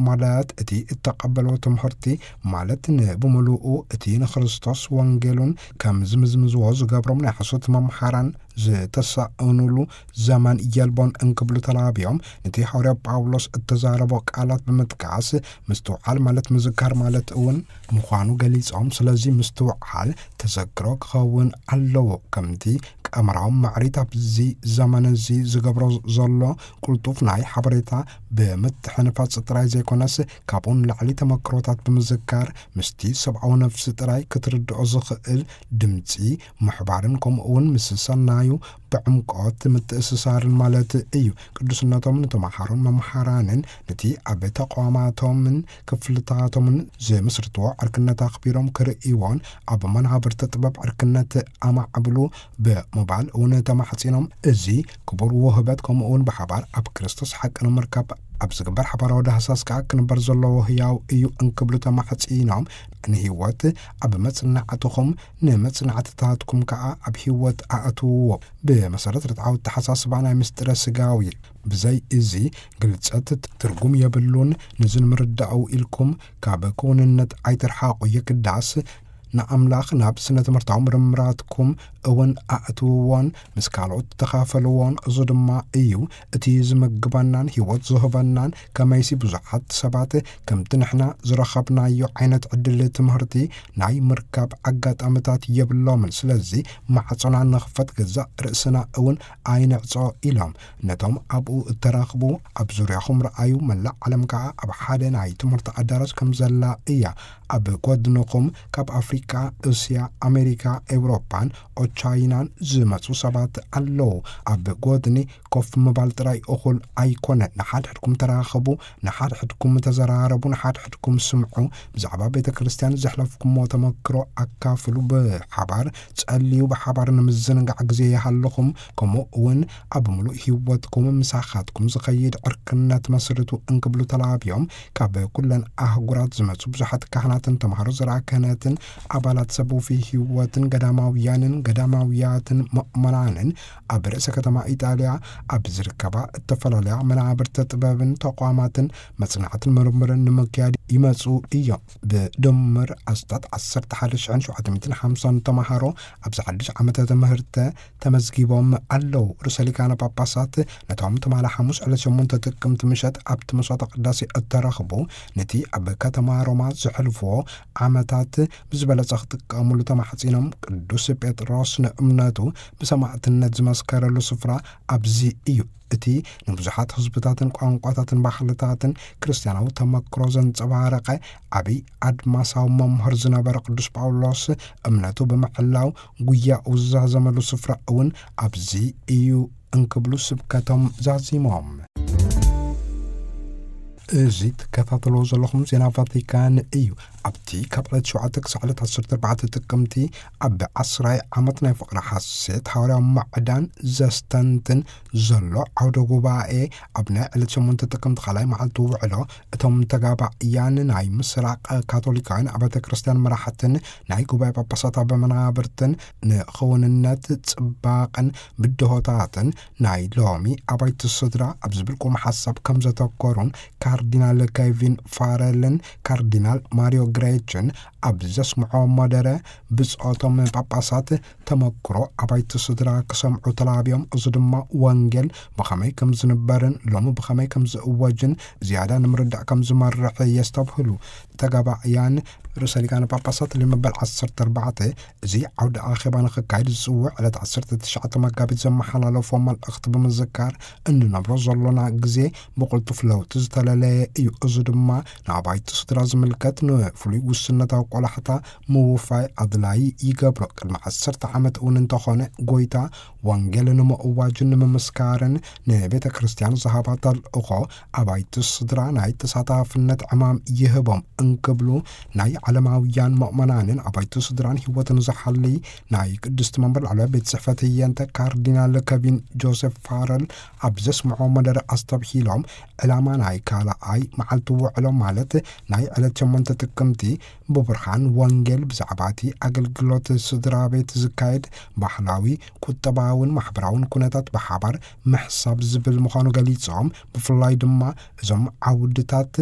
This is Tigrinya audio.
ማለት እቲ እተቐበሎ ትምህርቲ፣ ማለት ንብምሉኡ እቲ ንክርስቶስ ወንጌሉን ከም ዝምዝምዝዎ ዝገብሮም ናይ ሓሶት መምሓራን ዝተሳእኑሉ ዘመን የልቦን እንክብሉ ተላብዮም፣ ነቲ ሃዋርያ ጳውሎስ እተዛረቦ ቃላት ብምጥቃስ፣ ምስትውዓል ማለት ምዝካር ማለት እውን ምዃኑ ገሊጾም፣ ስለዚ ምስትውዓል ተዘክሮ ክኸውን ኣለዎ። ከምቲ ቀመራዊ ማዕሪት ኣብዚ ዘመን እዚ ዝገብሮ ዘሎ ቅልጡፍ ናይ ሓበሬታ ብምትሕንፋጽ ጥራይ ዘይኮነስ፣ ካብኡ ንላዕሊ ተመክሮታት ብምዝካር፣ ምስቲ ሰብኣዊ ነፍሲ ጥራይ ክትርድኦ ዝኽእል ድምጺ ምሕባርን፣ ከምኡ እውን ምስ ሰናዩ ብዕምቆት ምትእስሳርን ማለት እዩ። ቅዱስነቶም ንተማሃሮን መምሃራንን፣ ነቲ ኣብ ተቋማቶምን ክፍልታቶምን ዝምስርትዎ ዕርክነት ኣኽቢሮም ክርእይዎን፣ ኣብ መናብርቲ ጥበብ ዕርክነት ኣማዕብሉ ብሞባይል እውን ተማሕጺኖም፣ እዚ ክቡር ውህበት፣ ከምኡ እውን ብሓባር ኣብ ክርስቶስ ሓቂ ንምርካብ ኣብ ዝግበር ሓባራዊ ዳህሳስ ከኣ ክንበር ዘለዎ ህያው እዩ እንክብሉ ተማሕጺኖም፣ ንህይወት ኣብ መጽናዕትኹም፣ ንመጽናዕትታትኩም ከኣ ኣብ ህይወት ኣእትውዎ። ብመሰረት ርትዓዊ ኣተሓሳስባ ናይ ምስጢረ ስጋዊ፣ ብዘይ እዚ ግልጸት ትርጉም የብሉን። ንዚ ንምርዳኡ ኢልኩም ካብ ክውንነት ኣይትርሓቑ። የግዳስ ንኣምላኽ ናብ ስነ ትምህርታዊ ምርምራትኩም እውን ኣእትውዎን ምስ ካልኦት ተኻፈልዎን። እዚ ድማ እዩ እቲ ዝምግበናን ህይወት ዝህበናን። ከመይሲ ብዙሓት ሰባት ከምቲ ንሕና ዝረኸብናዮ ዓይነት ዕድል ትምህርቲ ናይ ምርካብ ኣጋጣሚታት የብሎምን። ስለዚ ማዕጾና ንኽፈት፣ ገዛእ ርእስና እውን ኣይንዕጾ ኢሎም። ነቶም ኣብኡ እተራኽቡ ኣብ ዙርያኹም ረኣዩ፣ መላእ ዓለም ከኣ ኣብ ሓደ ናይ ትምህርቲ ኣዳራሽ ከም ዘላ እያ። ኣብ ጎድንኹም ካብ ኣፍሪቃ፣ እስያ፣ ኣሜሪካ፣ ኤውሮፓን ኦቻይናን ዝመጹ ሰባት ኣለዉ። ኣብ ጎድኒ ኮፍ ምባል ጥራይ እኹል ኣይኮነን። ንሓድሕድኩም ተራኸቡ፣ ንሓድሕድኩም ተዘራረቡ፣ ንሓድሕድኩም ስምዑ። ብዛዕባ ቤተ ክርስቲያን ዘሕለፍኩሞ ተመክሮ ኣካፍሉ። ብሓባር ጸልዩ፣ ብሓባር ንምዝንጋዕ ግዜ ይሃልኹም። ከምኡ እውን ኣብ ምሉእ ህይወትኩም ምሳኻትኩም ዝኸይድ ዕርክነት መስርቱ እንክብሉ ተላብዮም። ካብ ኩለን ኣህጉራት ዝመጹ ብዙሓት ካህናትን ተምሃሮ ዘርኣ ክህነትን ኣባላት ሰብ ውፉይ ህይወትን ገዳማውያንን ገዳማውያትን ምእመናንን ኣብ ርእሰ ከተማ ኢጣልያ ኣብ ዝርከባ እተፈላለያ መናብርቲ ጥበብን ተቋማትን መጽናዕትን ምርምርን ንምክያድ ይመጹ እዮም። ብድምር ኣስታት ዓሰርተ ሓደ ሽሕን ሸውዓተ ሚእትን ሓምሳን ተምሃሮ ኣብዚ ሓድሽ ዓመተ ትምህርተ ተመዝጊቦም ኣለዉ። ርእሰ ሊቃነ ጳጳሳት ነቶም ትማሊ ሓሙስ ዕለት ሸሞንተ ጥቅምቲ ምሸት ኣብቲ መስዋዕተ ቅዳሴ እተረኽቡ፣ ነቲ ኣብ ከተማ ሮማ ዘሕልፍዎ ዓመታት ብዝበለጸ ክጥቀሙሉ ተማሕጺኖም፣ ቅዱስ ጴጥሮስ ንእምነቱ ብሰማዕትነት ዝመስከረሉ ስፍራ ኣብዚ እዩ። እቲ ንብዙሓት ህዝብታትን ቋንቋታትን ባህልታትን ክርስትያናዊ ተመክሮ ዘንጸባረቐ ዓቢ ኣድማሳዊ መምህር ዝነበረ ቅዱስ ጳውሎስ፣ እምነቱ ብምሕላው ጉያኡ ዝዛዘመሉ ስፍራ እውን ኣብዚ እዩ እንክብሉ ስብከቶም ዛዚሞም። እዚ ትከታተልዎ ዘለኹም ዜና ቫቲካን እዩ። ኣብቲ ካብ ዕለት ሸውዓተ ክሳዕ ዕለት ዓሰርተ ኣርባዕተ ጥቅምቲ ኣብ ዓስራይ ዓመት ናይ ፍቕሪ ሓሴት ሃዋርያዊ ማዕዳን ዘስተንትን ዘሎ ዓውደ ጉባኤ፣ ኣብ ናይ ዕለት ሸሞንተ ጥቅምቲ ካልኣይ መዓልቲ ውዕሎ፣ እቶም ተጋባእያን ናይ ምስራቕ ካቶሊካውያን ኣብያተ ክርስቲያን መራሕትን ናይ ጉባኤ ጳጳሳት ኣብ መናብርትን ንኽውንነት ጽባቕን ብድሆታትን ናይ ሎሚ ኣባይቲ ስድራ ኣብ ዝብል ቁም ሓሳብ ከም ዘተኮሩን፣ ካርዲናል ኬቪን ፋረልን ካርዲናል ማሪዮ ግሬችን ኣብ ዘስምዖ መደረ፣ ብጾቶም ጳጳሳት ተመክሮ ኣባይቲ ስድራ ክሰምዑ ተላብዮም። እዚ ድማ ወንጌል ብኸመይ ከም ዝንበርን ሎሚ ብኸመይ ከም ዝእወጅን ዝያዳ ንምርዳእ ከም ዝመርሕ የስተብህሉ። ተጋባእያን ርእሰ ሊቃነ ጳጳሳት ልመበል ዓሰርተ ኣርባዕተ እዚ ዓውደ ኣኼባ ንኽካየድ ዝጽውዕ ዕለት ዓሰርተ ትሽዓተ መጋቢት ዘመሓላለፎ መልእኽቲ ብምዝካር፣ እንነብሮ ዘሎና ግዜ ብቕልጡፍ ለውጢ ዝተለለየ እዩ። እዚ ድማ ንኣባይቲ ስድራ ዝምልከት ንፍሉይ ውስነታዊ ቆላሕታ ምውፋይ ኣድላዪ ይገብሮ። ቅድሚ ዓሰርተ ዓመት እውን እንተኾነ፣ ጎይታ ወንጌል ንምእዋጅን ንምምስካርን ንቤተ ክርስቲያን ዝሃባ ተልእኾ ኣባይቲ ስድራ ናይ ተሳታፍነት ዕማም ይህቦም። እንክብሉ ናይ ዓለማውያን መእመናንን ኣባይቲ ስድራን ህይወትን ዝሓሊ ናይ ቅድስቲ መንበር ላዕለዋይ ቤት ጽሕፈት ህየንተ ካርዲናል ከቪን ጆሴፍ ፋረል ኣብ ዘስምዖ መደረ ኣስተብሂሎም፣ ዕላማ ናይ ካልኣይ መዓልቲ ውዕሎ ማለት ናይ ዕለት ሸሞንተ ጥቅምቲ ብብርሃን ወንጌል ብዛዕባ እቲ ኣገልግሎት ስድራ ቤት ዝካየድ ባህላዊ፣ ቁጠባውን ማሕበራውን ኩነታት ብሓባር ምሕሳብ ዝብል ምዃኑ ገሊጾም፣ ብፍላይ ድማ እዞም ዓውድታት